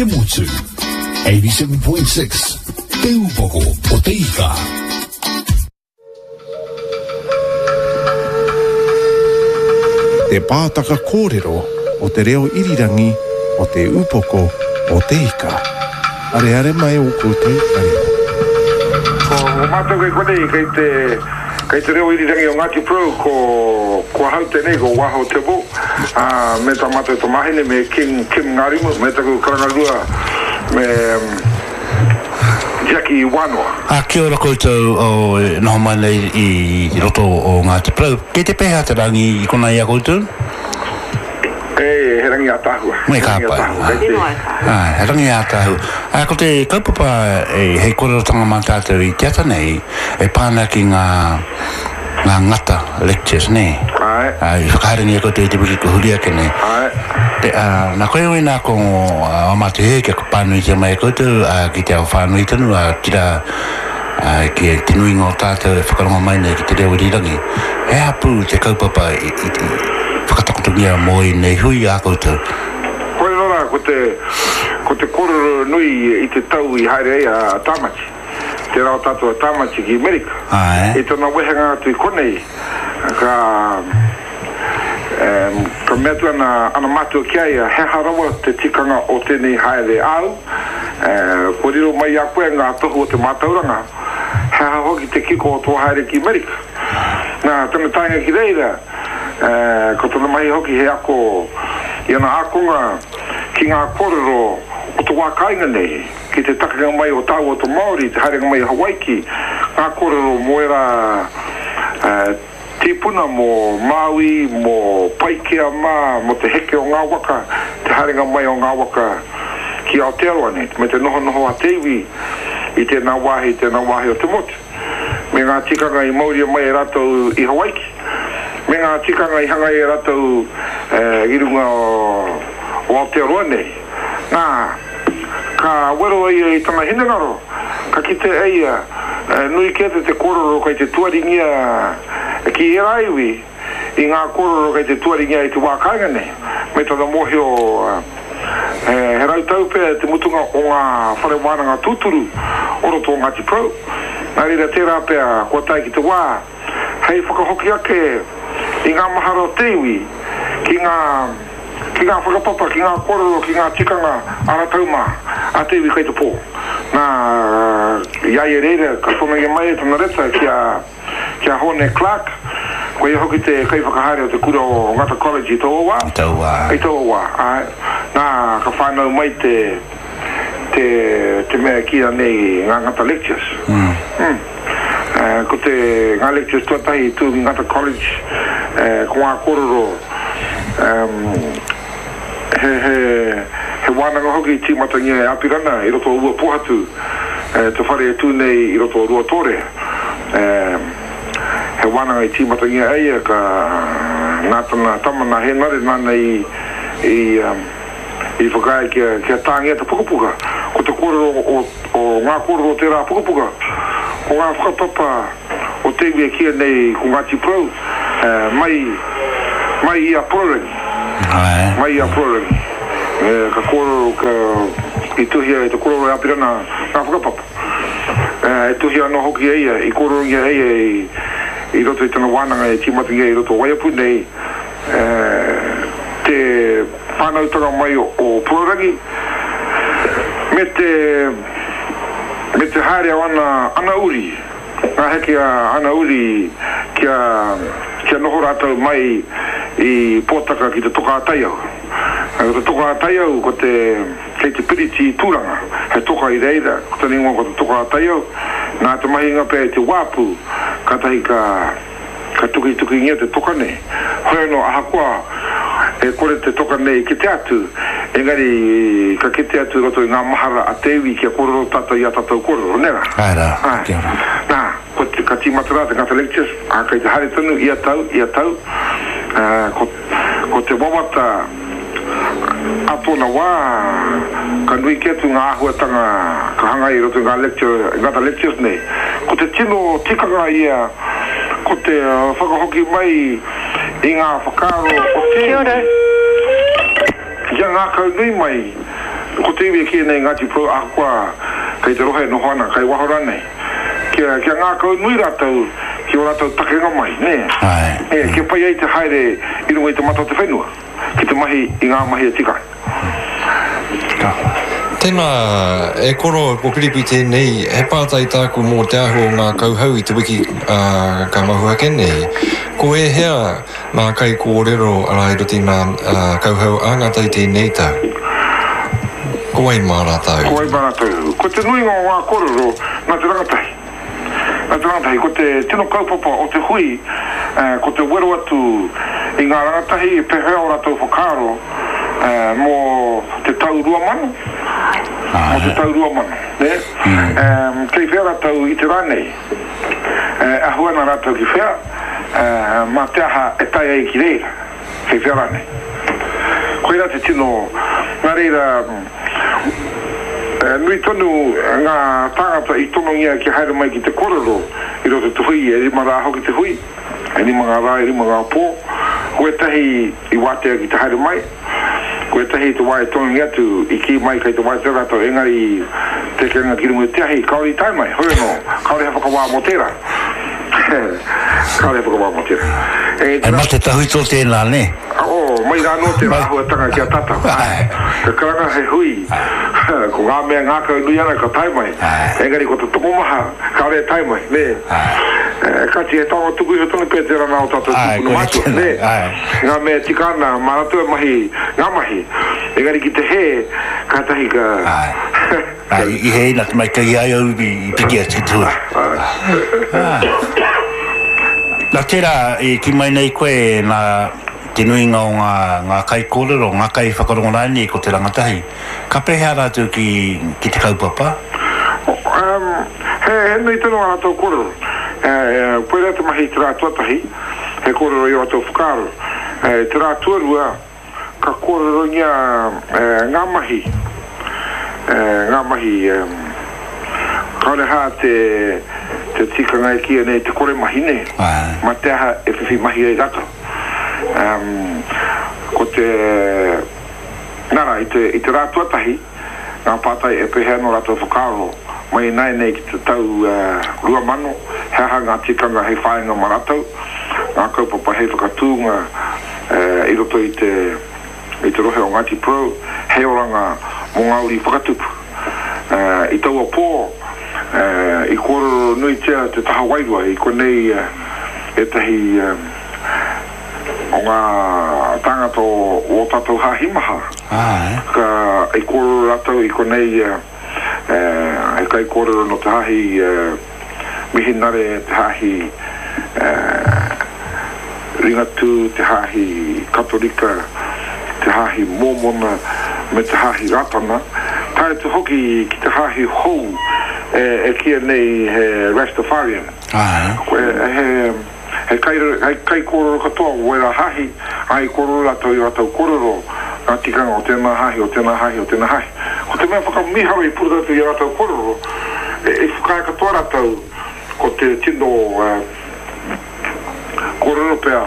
Te motu. 87.6 Te Upoko o Te Ika. Te pātaka kōrero o te reo irirangi o Te Upoko o Te Ika. Areare mai ō koutou kare. Ko mātou kei konei, kei te, kei te reo irirangi o Ngāti Porou, ko, ko ahau tēnei, ko Waho Tibble, ā, me tā mātou tamāhine, me King Kim Ngārimu, me taku karangarua, me Jackie Wānoa. Ā, kia ora koutou o e noho mai nei i roto o Ngāti Porou. Kei te pēhea te rangi i konā i a koutou? E, he rangi ātaahua. Me ka pai. Kei te. Āe, he rangi ātaahua. Ā, ko te kaupapa e, hei kōrerotanga mā tātou i te ata nei, e pā ana ki ngā, ngā ngata lectures, nē? Āe. Ā, i whakahaerengia koutou i te wiki kua huri ake nei. Āe. Te, ā, nā koe wēnā ko ā mātou hiahia kia pānuitia mai e koutou, ā, ki te ao whānui tonu, ā, otirā, ā, ki te nuinga o tātou e whakarongo mai nei ki te reo irirangi. He aha pū te kaupapa i, i, i whakatakotongia mō ēnei hui ā koutou? Koirā rā ko te, ko te kōrero nui i te tau i haere ai a Tāmati, tērā o tātou a Tāmati ki Amerika. Āe. I tana wehenga atu i konei, ka, ka mea atu ana, ana mātua ki a ia, he aha rawa te tikanga o tēnei haere āu, kua riro mai i a koe ngā tohu o te mātauranga, he aha hoki te kiko o tō haere ki Amerika. Nā, tana taenga ki reira, ko tana mahi hoki he ako i ana ākonga ki ngā kōrero o te wā kāinga nei, ki te takenga mai o tāua o te Māori, te haerenga mai i Hawaiki, ngā kōrero mō ērā tīpuna mō Māui, mō Paikea mā, mō te heke o ngā waka, te haerenga mai o ngā waka ki Aotearoa nei, me te nohonoho a te iwi i tēnā wāhi, tēnā wāhi o te motu. me ngā tikanga i mauria mai e rātou i Hawaiki, me ngā tikanga i hangaia e rātou i runga o Aotearoa nei. Nā, ka wero a ia i tana hinengaro, ka kite e ia, nui kē atu te kōrero kei te tuaringia ki ērā iwi, i ngā kōrero kei te tuaringia i te wā kāinga nei, me tana mōhio he rautau pea te mutunga o ngā whare wānanga tūturu o roto o Ngāti Porou, nā reira tērā pea kua tae ki te wā hei whakahoki ake i ngā mahara o te iwi ki ngā ki ngā whakapapa, ki ngā kōrero, ki ngā tikanga a rātou mā, a te iwi kei te pō. Nā, i a ia reira ka tonoia mai e tana reta ki a. Ki a Hōne Clark, ko ia hoki te kaiwhakahaere o te kura o Ngata College i taua wā. I taua wā. I taua wā, āe. Nā, ka whānau mai te, te, te mea e kīia nei ngā Ngata Lectures. Mm. Mm. Ko te, ngā lectures tuatahi i tū ki Ngata College, ko ngā kōrero, he, he, he wānanga hoki i tīmatangia e Apirana i roto o Uapohatu, te whare e tū nei i roto o Ruatōrea. He wānanga i tīmatangia e ia, ka, nā tana tama, nā Hēnare, nāna i, i, i whakaae kia, kia tāngia te pukapuka. Ko te kōrero o, o ngā kōrero o tērā pukapuka, ko ngā whakapapa o te iwi e kīia nei ko Ngāti Porou, mai, mai i a Porourangi. Mai i a Porourangi. Ka kōrero, ka, i tuhia e te koroua e Apirana ngā whakapapa. E tuhia anō hoki e ia, i kōrerongia e ia i roto i tana wānanga e tīmatangia i roto o Waiapu nei, te whānautanga mai o Porourangi, me te, me te haere o ana, ana uri, ngā heke a ana uri kia, kia noho rātou mai i Pōtaka ki te Toka-a-Taiau. Ko te Toka-a-Taiau ko te. Kei te piriti i Tūranga, he toka i reira, ko tana ingoa ko te Toka a Taiau, nā te mahinga pea i te wāpu, kātahi ka, ka tukitukingia te toka nei. Hoi anō, ahakoa e kore te toka nei e kite atu, engari ka kite atu i roto i ngā mahara a te iwi kia kōrero tātou i ā tātou kōrero, nē rā? Āe rā, kia ora. Nā, ko te, ka tīmata rā te Ngata Lectures, ā, kei te haere tonu ia tau, ia tau, ā, ko, ko te wawata, Ā tōna wā, ka nui kē atu ngā āhuatanga ka hangaia i roto i ngā lecture, i ngā lectures nei. Ko te tino tikanga ia, ko te whakahoki mai i ngā whakaaro o te Kia ora. Kia ngākaunui mai Ko te iwi e kīia nei Ngāti Porou ahakoa kei te rohe e noho ana, kei waho rānei, kia, kia ngākau nui rātou ki ō rātou takenga mai, nē? Āe. Nē, kia pai ai te haere i runga i te mata o te whenua, ki te mahi i ngā mahi e tika ana. Tika. Tēnā, e koro, ko Piripi tēnei, he pātai tāku mō te āhua o ngā kauhau i te wiki ka mahu ake nei. Ko ēhea ngā kaikōrero arā i roto i ngā kauhau a ngā tai tēnei tau? Ko wai mā rātou? Ko wai mā rātou? Ko te nuinga o ngā kōrero nā te rangatahi. Nā te rangatahi, ko te tino kaupapa o te hui, ko te wero atu i ngā rangatahi pēhea ō rātou whakaaro mō te tau 2000, mō te tau 2000, nē? Kei whea rātou i te rā nei? E ahu ana rātou ki whea, mā te aha e tae ai ki reira, kei whea rānei? Koirā te tino, nā reira, Nui tonu ngā tāngata i tonongia kia haere mai ki te korero i roto i te hui, e rima rā hoki te hui, e rima ngā rā, e rima ngā pō. Ko ētahi i wātea ki te haere mai, ko ētahi i te wā e tonongia atu i kī mai kei te wātea rātou, engari te ekenga ki runga i te ahi, kāore i tae mai, hoi anō, kāore he whakawā mō tērā. Kāore he whakawā mō tērā. He mate tawhito tēnā, nē? Oh, mai rā anō tērā āhuatanga ki a tātou. Ka karanga he hui, ko ngā mea ngākau nui ana ka tae mai, engari ko te tokomaha kāore e tae mai, nē? Kāti, he taonga tuku iho tonu pea tērā nā ō tātou tūpuna mātua, nē? Ngā mea e tika ana, mā rātou e mahi ngā mahi, engari ki te hē, kātahi ka. I hē ina te mai kei ai au i piki atu ki te hui. Nā tērā i kī mai nei koe nā te nuinga o ngā, ngā kaikōrero, ngā kaiwhakarongo rānei ko te rangatahi. Ka pēhea rātou ki, ki te kaupapa? Um, he, he nui tonu ā rātou kōrero. Eh, koirā te mahi i te rā tuatahi, he kōrero i ō rātou whakaaro. Eh, te rā tuarua, Ka kōrerongia ngā mahi, ngā mahi, kāore hā te tikanga e kīia nei te kore mahi nē, mā te aha e whiwhi mahi ai rātou. Ko te, nā rā, i te rā tuatahi, ngā pātai e pēhea nō rātou whakaaro mai ināianei ki te tau 2000, he aha ngā tikanga hei whāinga mā rātou, ngā kaupapa hei whakatūnga i roto i te i te rohe o Ngāti Porou, hei oranga mō ngā uri whakatupu. I taua pō, i kōrero nuitia te taha wairua, i konei ētahi o ngā tāngata o ō tātou hāhi maha, ka, i kōrero rātou i konei, he kaikōrero nō te hāhi Mihinare, te hāhi Ringatū, te hāhi Katorika, te hāhi Mōmona, me te hāhi Rātana, tae atu hoki ki te hāhi hou e kīia nei he Rastafarian. He. He kai, hei kaikōrero katoa o wērā hāhi, ā, i kōrero rātou i ō rātou kōrero, ngā tikanga o tēnā hāhi, o tēnā hāhi, o tēnā hāhi. Ko te mea whakamīharo i puta atu i ā rātou kōrero, i whakaae katoa rātou ko te tino kōrero pea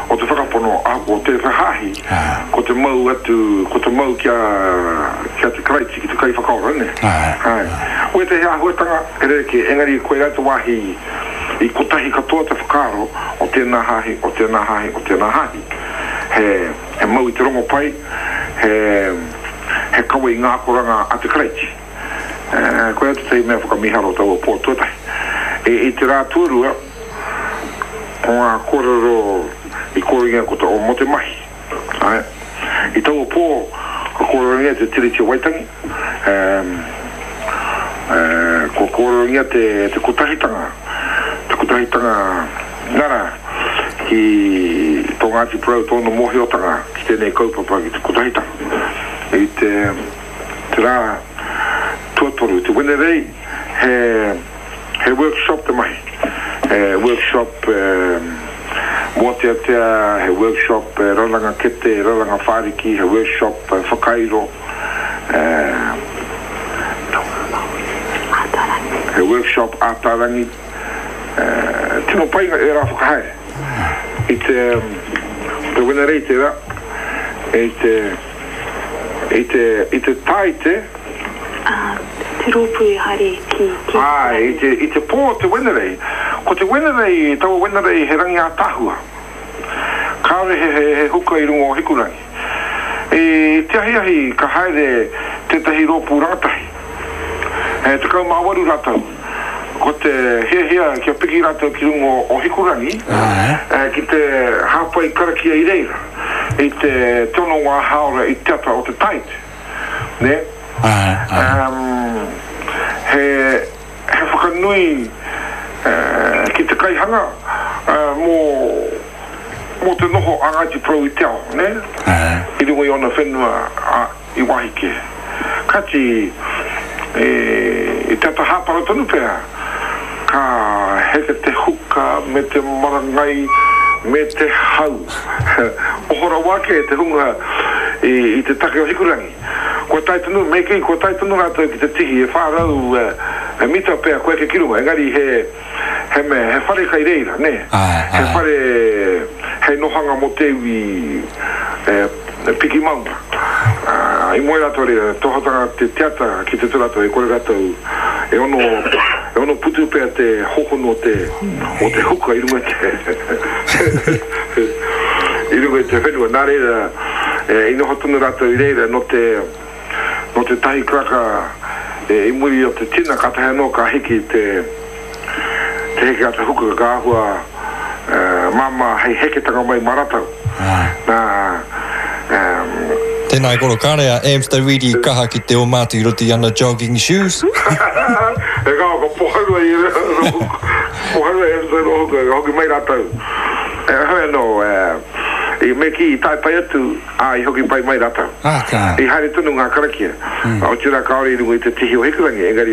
o te whakapono ahakoa tēwhea hāhi, ko te mau atu, ko te mau ki a, ki a te Karaiti, ki te Kaiwhakaora, nē? Āe. Wētehi āhuatanga he rerekē, engari koirā te wāhi I kotahi katoa te whakaaro o tēnā hāhi, o tēnā hāhi, o tēnā hāhi. He, he mau i te rongopai, he, he kawe i ngā akoranga a te Karaiti. E, koia tētahi mea whakamīharo o taua pō tuatahi. I, i te rā tuarua, ko ngā kōrero i kōrengia ko te, o mō te mahi. Āe. I taua pō, ka kōrerongia te Tiriti o Waitangi, kua kōrerongia te, te kotahitanga, te kotahitanga nara ki tō Ngāti Porou tōna mōhiotanga ki tēnei kaupapa ki te kotahitanga. I te, te rā tuatoru, te Wenerei, he, He workshop te mahi. He workshop mōteatea, he workshop raranga kete, raranga whāriki, he workshop whakairo, he workshop ātarangi. Tino pai ērā whakahaere. I te, te Wenerei tērā, i te, I te, i te Tāite. Ā, te rōpū i haere ki, ki Āe, i te, i te pō o te Wenerei. Ko te Wenerei, taua Wenerei he rangi ātaahua. Kāore he, he, he huka i runga o Hikurangi. I te ahiahi ka haere tētahi rōpū rangatahi. He 18 rātou. Ko te hiahia kia piki rātou ki runga o Hikurangi ki te hāpai karakia i reira i te tono ngā hāora i te ata o te Tāite. Nē? He, he whakanui ki te kaihanga mō, mō te noho a Ngāti Porou i te ao, nē? I runga i ōna whenua, i wāhi kē. Kāti, i te ata hāpara tonu pea, ka heke te huka me te marangai me te hau. Oho rawa ake te hunga i te take o Hikurangi. Kua tae tonu, me kī, kua tae tonu rātou ki te tihi, e 400 mita pea kua eke ki runga, engari he, he mea, he whare kai reira, nē? He whare hei nohanga mō te iwi e piki maunga. I moe rātou reira, tohotanga te te ata ki te tū rātou, e kore rātou e ono, e ono putu pea te hohonu o te, o te huka i runga i te, i runga i te whenua. Nā reira, i noho tonu rātou i reira nō te, Nō te tahi karaka i muri o te tina kātahi anō ka hiki te te heke a te huka ka āhua māmā hei heketanga mai mā rātou. Nā, Tēnā e koro, kāre a Amster Reid i kaha ki te oma atu i roto i ana jogging shoes. E kao, ka poharu ai e poharu ai e roto i rō huka, ka hoki mai rātou. Heoi anō, i me kī i tae pai atu, ā, i hoki pai mai rātou. I haere tonu ngā karakia, otirā kāore i runga i te tihi o Hikurangi, engari.